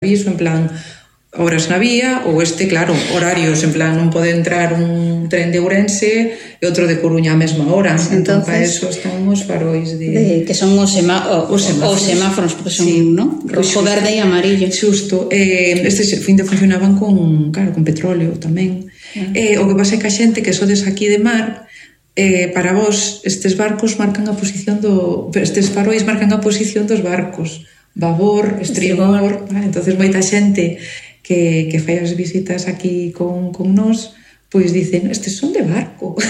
aviso, en plan, horas na vía, ou claro, horarios, en plan, non pode entrar un tren de Ourense e outro de Coruña á mesma hora. Entón, para eso están os farois que son os semáforos, porque son, sí, ¿no? Rojo, verde e amarillo. Xusto. Estes funcionaban con petróleo tamén. O que pasa é que a xente que sodes aquí de mar, para vos, estes farois marcan a posición dos barcos. Babor, estribor, entonces moita xente que fai as visitas aquí con nós, pois dicen, estes son de barco. Os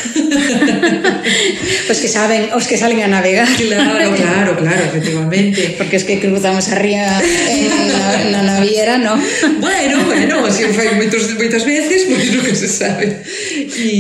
que salen a navegar. Claro, efectivamente. Porque es que cruzamos a ría na naviera, non? Bueno, así fai moitas veces, pois non que se sabe.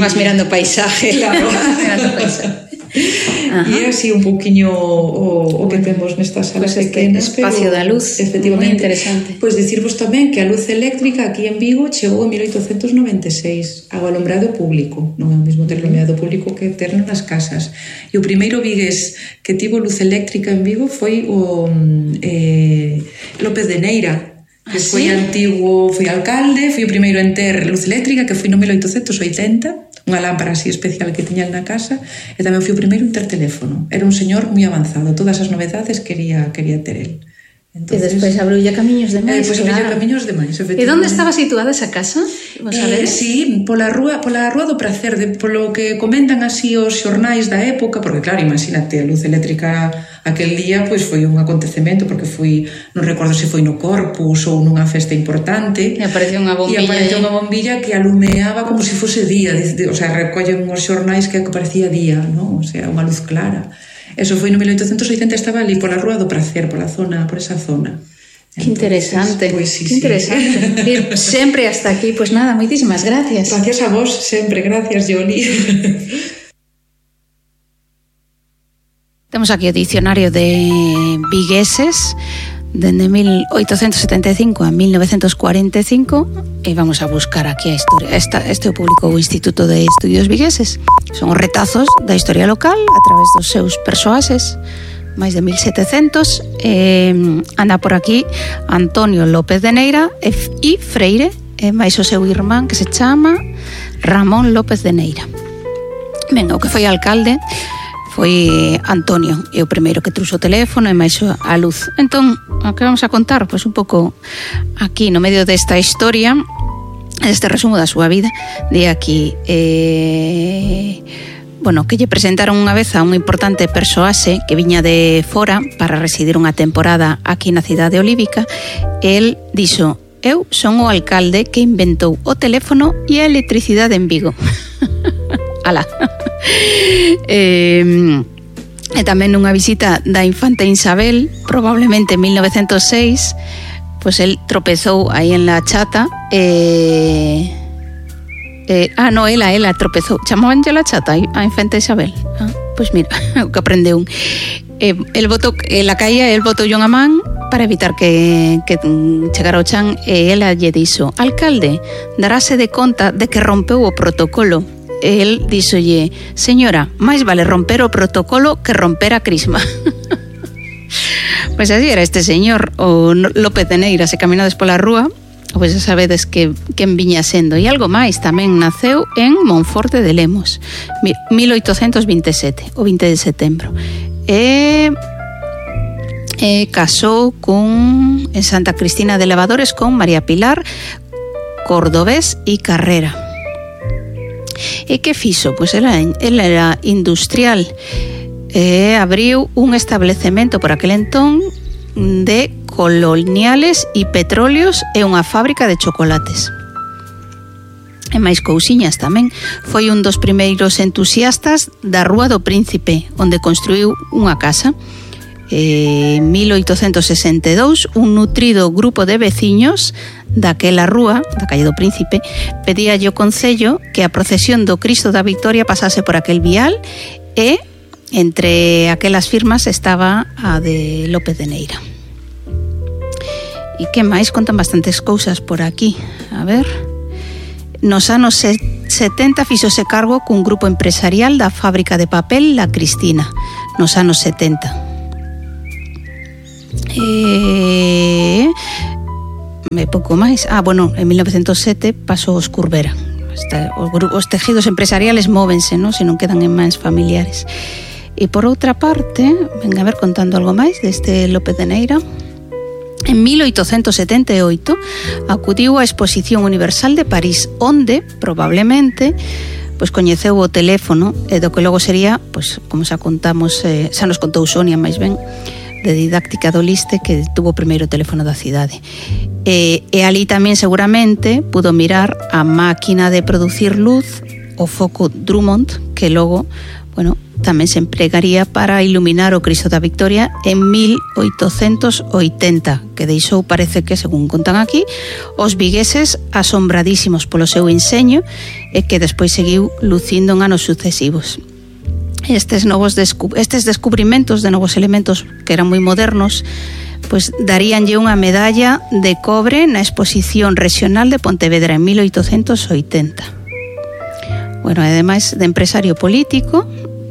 Vas mirando paisaje. Claro. Mirando paisaje. E así un pouquiño o que temos nestas salas pequenas, espacio da luz, efectivamente, moi interesante. Pois dicirvos tamén que a luz eléctrica aquí en Vigo chegou en 1896 ao alumbrado público, non é o mesmo ter alumbrado público que terlo nas casas. E o primeiro vigués que tivo luz eléctrica en Vigo foi o López de Neira, que foi antigo, foi alcalde, foi o primeiro en ter luz eléctrica, que foi no 1880, unha lámpara así especial que tiña na casa, e tamén foi o primeiro en ter teléfono. Era un señor moi avanzado, todas as novedades quería ter el. Entonces, e despois abriulle camiños demais. Camiños demais, efectivamente. E onde estaba situada esa casa? Sí, pola rúa do Pracer, polo que comentan así os xornais da época, porque claro, imagínate, a luz eléctrica aquel día pois foi un acontecemento, porque non recordo se foi no Corpus ou nunha festa importante, e apareceu unha bombilla que alumeaba como se fose día, o sea, recollen os xornais que parecía día, non? O sea, unha luz clara. Eso foi no 1880, estaba ali pola Rúa do Pracer, por esa zona. Que interesante, pues sí, que interesante. Sí. Sempre hasta aquí, pues nada, moitísimas gracias. Gracias a vos, sempre, gracias, Yoli. Temos aquí o dicionario de vigueses dende 1875 a 1945 e vamos a buscar aquí a historia. Este o publicou o Instituto de Estudios Vigueses. Son os retazos da historia local a través dos seus persoaxes, máis de 1700. Anda por aquí Antonio López de Neira e Freire, e máis o seu irmán que se chama Ramón López de Neira. Ben, o que foi alcalde foi Antonio, e o primeiro que trouxo o teléfono e máis a luz. Entón, o que vamos a contar? Pois un pouco aquí no medio desta historia, este resumo da súa vida, de aquí que lle presentaron unha vez a un importante persoaxe que viña de fora para residir unha temporada aquí na cidade olívica. El dixo: eu son o alcalde que inventou o teléfono e a electricidade en Vigo. Alá. E tamén nunha visita da infanta Isabel, probablemente en 1906, pois el tropezou aí en la chata ela tropezou, chamabanlle la chata a infanta Isabel. Pois mira, o que aprendeu. El botou, la caía, el botou unha man para evitar que chegara ao chan, e ela lle dixo: alcalde, darase de conta de que rompeu o protocolo. El díxolle: señora, máis vale romper o protocolo que romper a crisma. Pois así era este señor, o López de Neira. Se caminades pola rúa, pois xa sabedes que quen viña sendo. E algo máis, tamén naceu en Monforte de Lemos, 1827, o 20 de setembro. E casou en Santa Cristina de Levadores con María Pilar Cordobés e Carrera. E que fixo? Pois ela era industrial, abriu un establecemento por aquel entón de coloniales e petróleos e unha fábrica de chocolates. E máis cousiñas tamén. Foi un dos primeiros entusiastas da Rúa do Príncipe, onde construiu unha casa. En 1862, un nutrido grupo de veciños daquela rúa, da calle do Príncipe, pedíalle ao Concello que a procesión do Cristo da Victoria pasase por aquel vial, e entre aquelas firmas estaba a de López de Neira. E que máis? Contan bastantes cousas por aquí. A ver... Nos anos 70 fixose cargo cun grupo empresarial da fábrica de papel La Cristina, nos anos 70. pouco máis. Bueno, en 1907 pasou os Curbera. Os tejidos empresariales móvense, non? Se non quedan en mans familiares. E por outra parte, venga a ver contando algo máis deste López de Neira. En 1878 acudiu á Exposición Universal de París, onde, probablemente, pois coñeceu o teléfono e do que logo sería, pois como xa contamos, xa nos contou Sonia máis ben, de didáctica do Liste, que tuvo o primeiro teléfono da cidade. E ali tamén seguramente pudo mirar a máquina de producir luz, o foco Drummond, que logo, bueno, tamén se empregaría para iluminar o Cristo da Victoria en 1880, que deixou, parece que, según contan aquí, os vigueses asombradísimos polo seu enseño e que despois seguiu lucindo en anos sucesivos. Estes descubrimentos de novos elementos que eran moi modernos, pois daríanlle unha medalla de cobre na Exposición Regional de Pontevedra en 1880. Bueno, ademais de empresario político,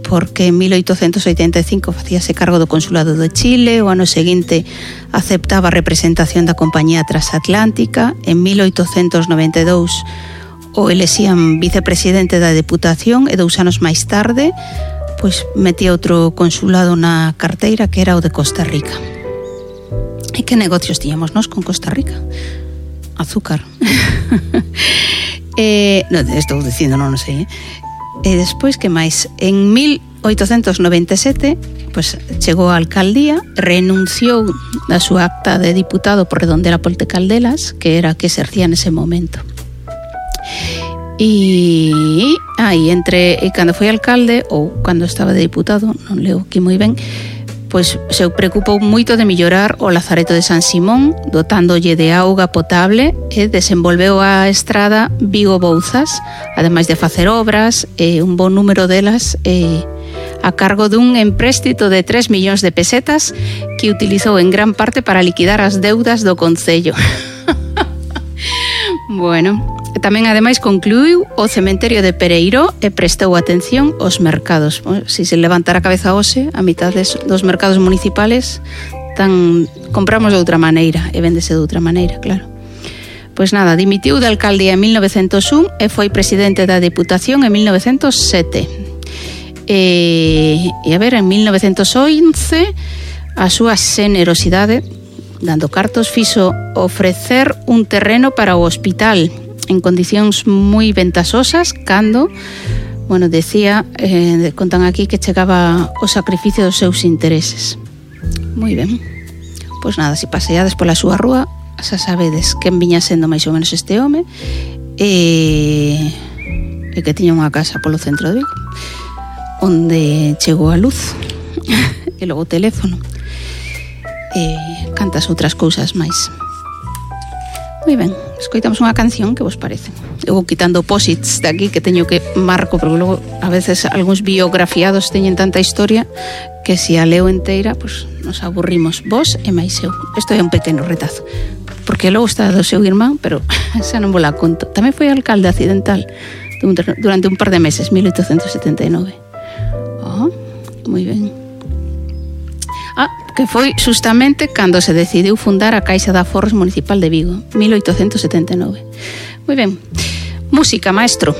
porque en 1885 facíase cargo do Consulado de Chile, o ano seguinte aceptaba a representación da Compañía Transatlántica, en 1892 o elexían vicepresidente da Deputación e 2 anos máis tarde pois metía outro consulado na carteira, que era o de Costa Rica. E que negocios tiñamos nós con Costa Rica? Azúcar. Estou dicindo, non sei, E despois, que máis? En 1897, pois, chegou á alcaldía, renunciou da súa acta de diputado por Redondela Ponte Caldelas, que era a que exercía nese momento. E cando foi alcalde, ou cando estaba de diputado, non leo aquí moi ben, pois se preocupou moito de mellorar o Lazareto de San Simón, dotándolle de auga potable, e desenvolveu a estrada Vigo-Bouzas, ademais de facer obras, un bon número delas a cargo dun empréstito de 3 millóns de pesetas que utilizou en gran parte para liquidar as deudas do concello. Bueno, tamén ademais concluiu o cementerio de Pereiro e prestou atención aos mercados. Si se levantara a cabeza hoxe, a mitad dos mercados municipales compramos de outra maneira e véndese de outra maneira, claro. Pois nada, dimitiu de alcaldía en 1901 e foi presidente da Deputación en 1907. E a ver, en 1911 a súa xenerosidade, dando cartos, fixo ofrecer un terreno para o hospital en condicións moi ventasosas cando, bueno, decía, contan aquí que chegaba o sacrificio dos seus intereses. Moi ben. Pois nada, se paseades pola súa rúa, xa sabedes quen viña sendo máis ou menos este home e que tiña unha casa polo centro de Vigo onde chegou a luz e logo o teléfono e cantas outras cousas máis. Moi ben, escoitamos unha canción, que vos parece? Eu vou quitando posits de aquí que teño que marco, porque logo a veces algúns biografiados teñen tanta historia que se a leo inteira, pues nos aburrimos, vos e máis eu. Isto é un pequeno retazo, porque logo está do seu irmán, pero xa non vos la conto. Tamén foi alcalde accidental durante un par de meses, 1879. Moi ben. Que foi justamente cando se decidiu fundar a Caixa de Aforros Municipal de Vigo, 1879. Moi ben. Música, maestro.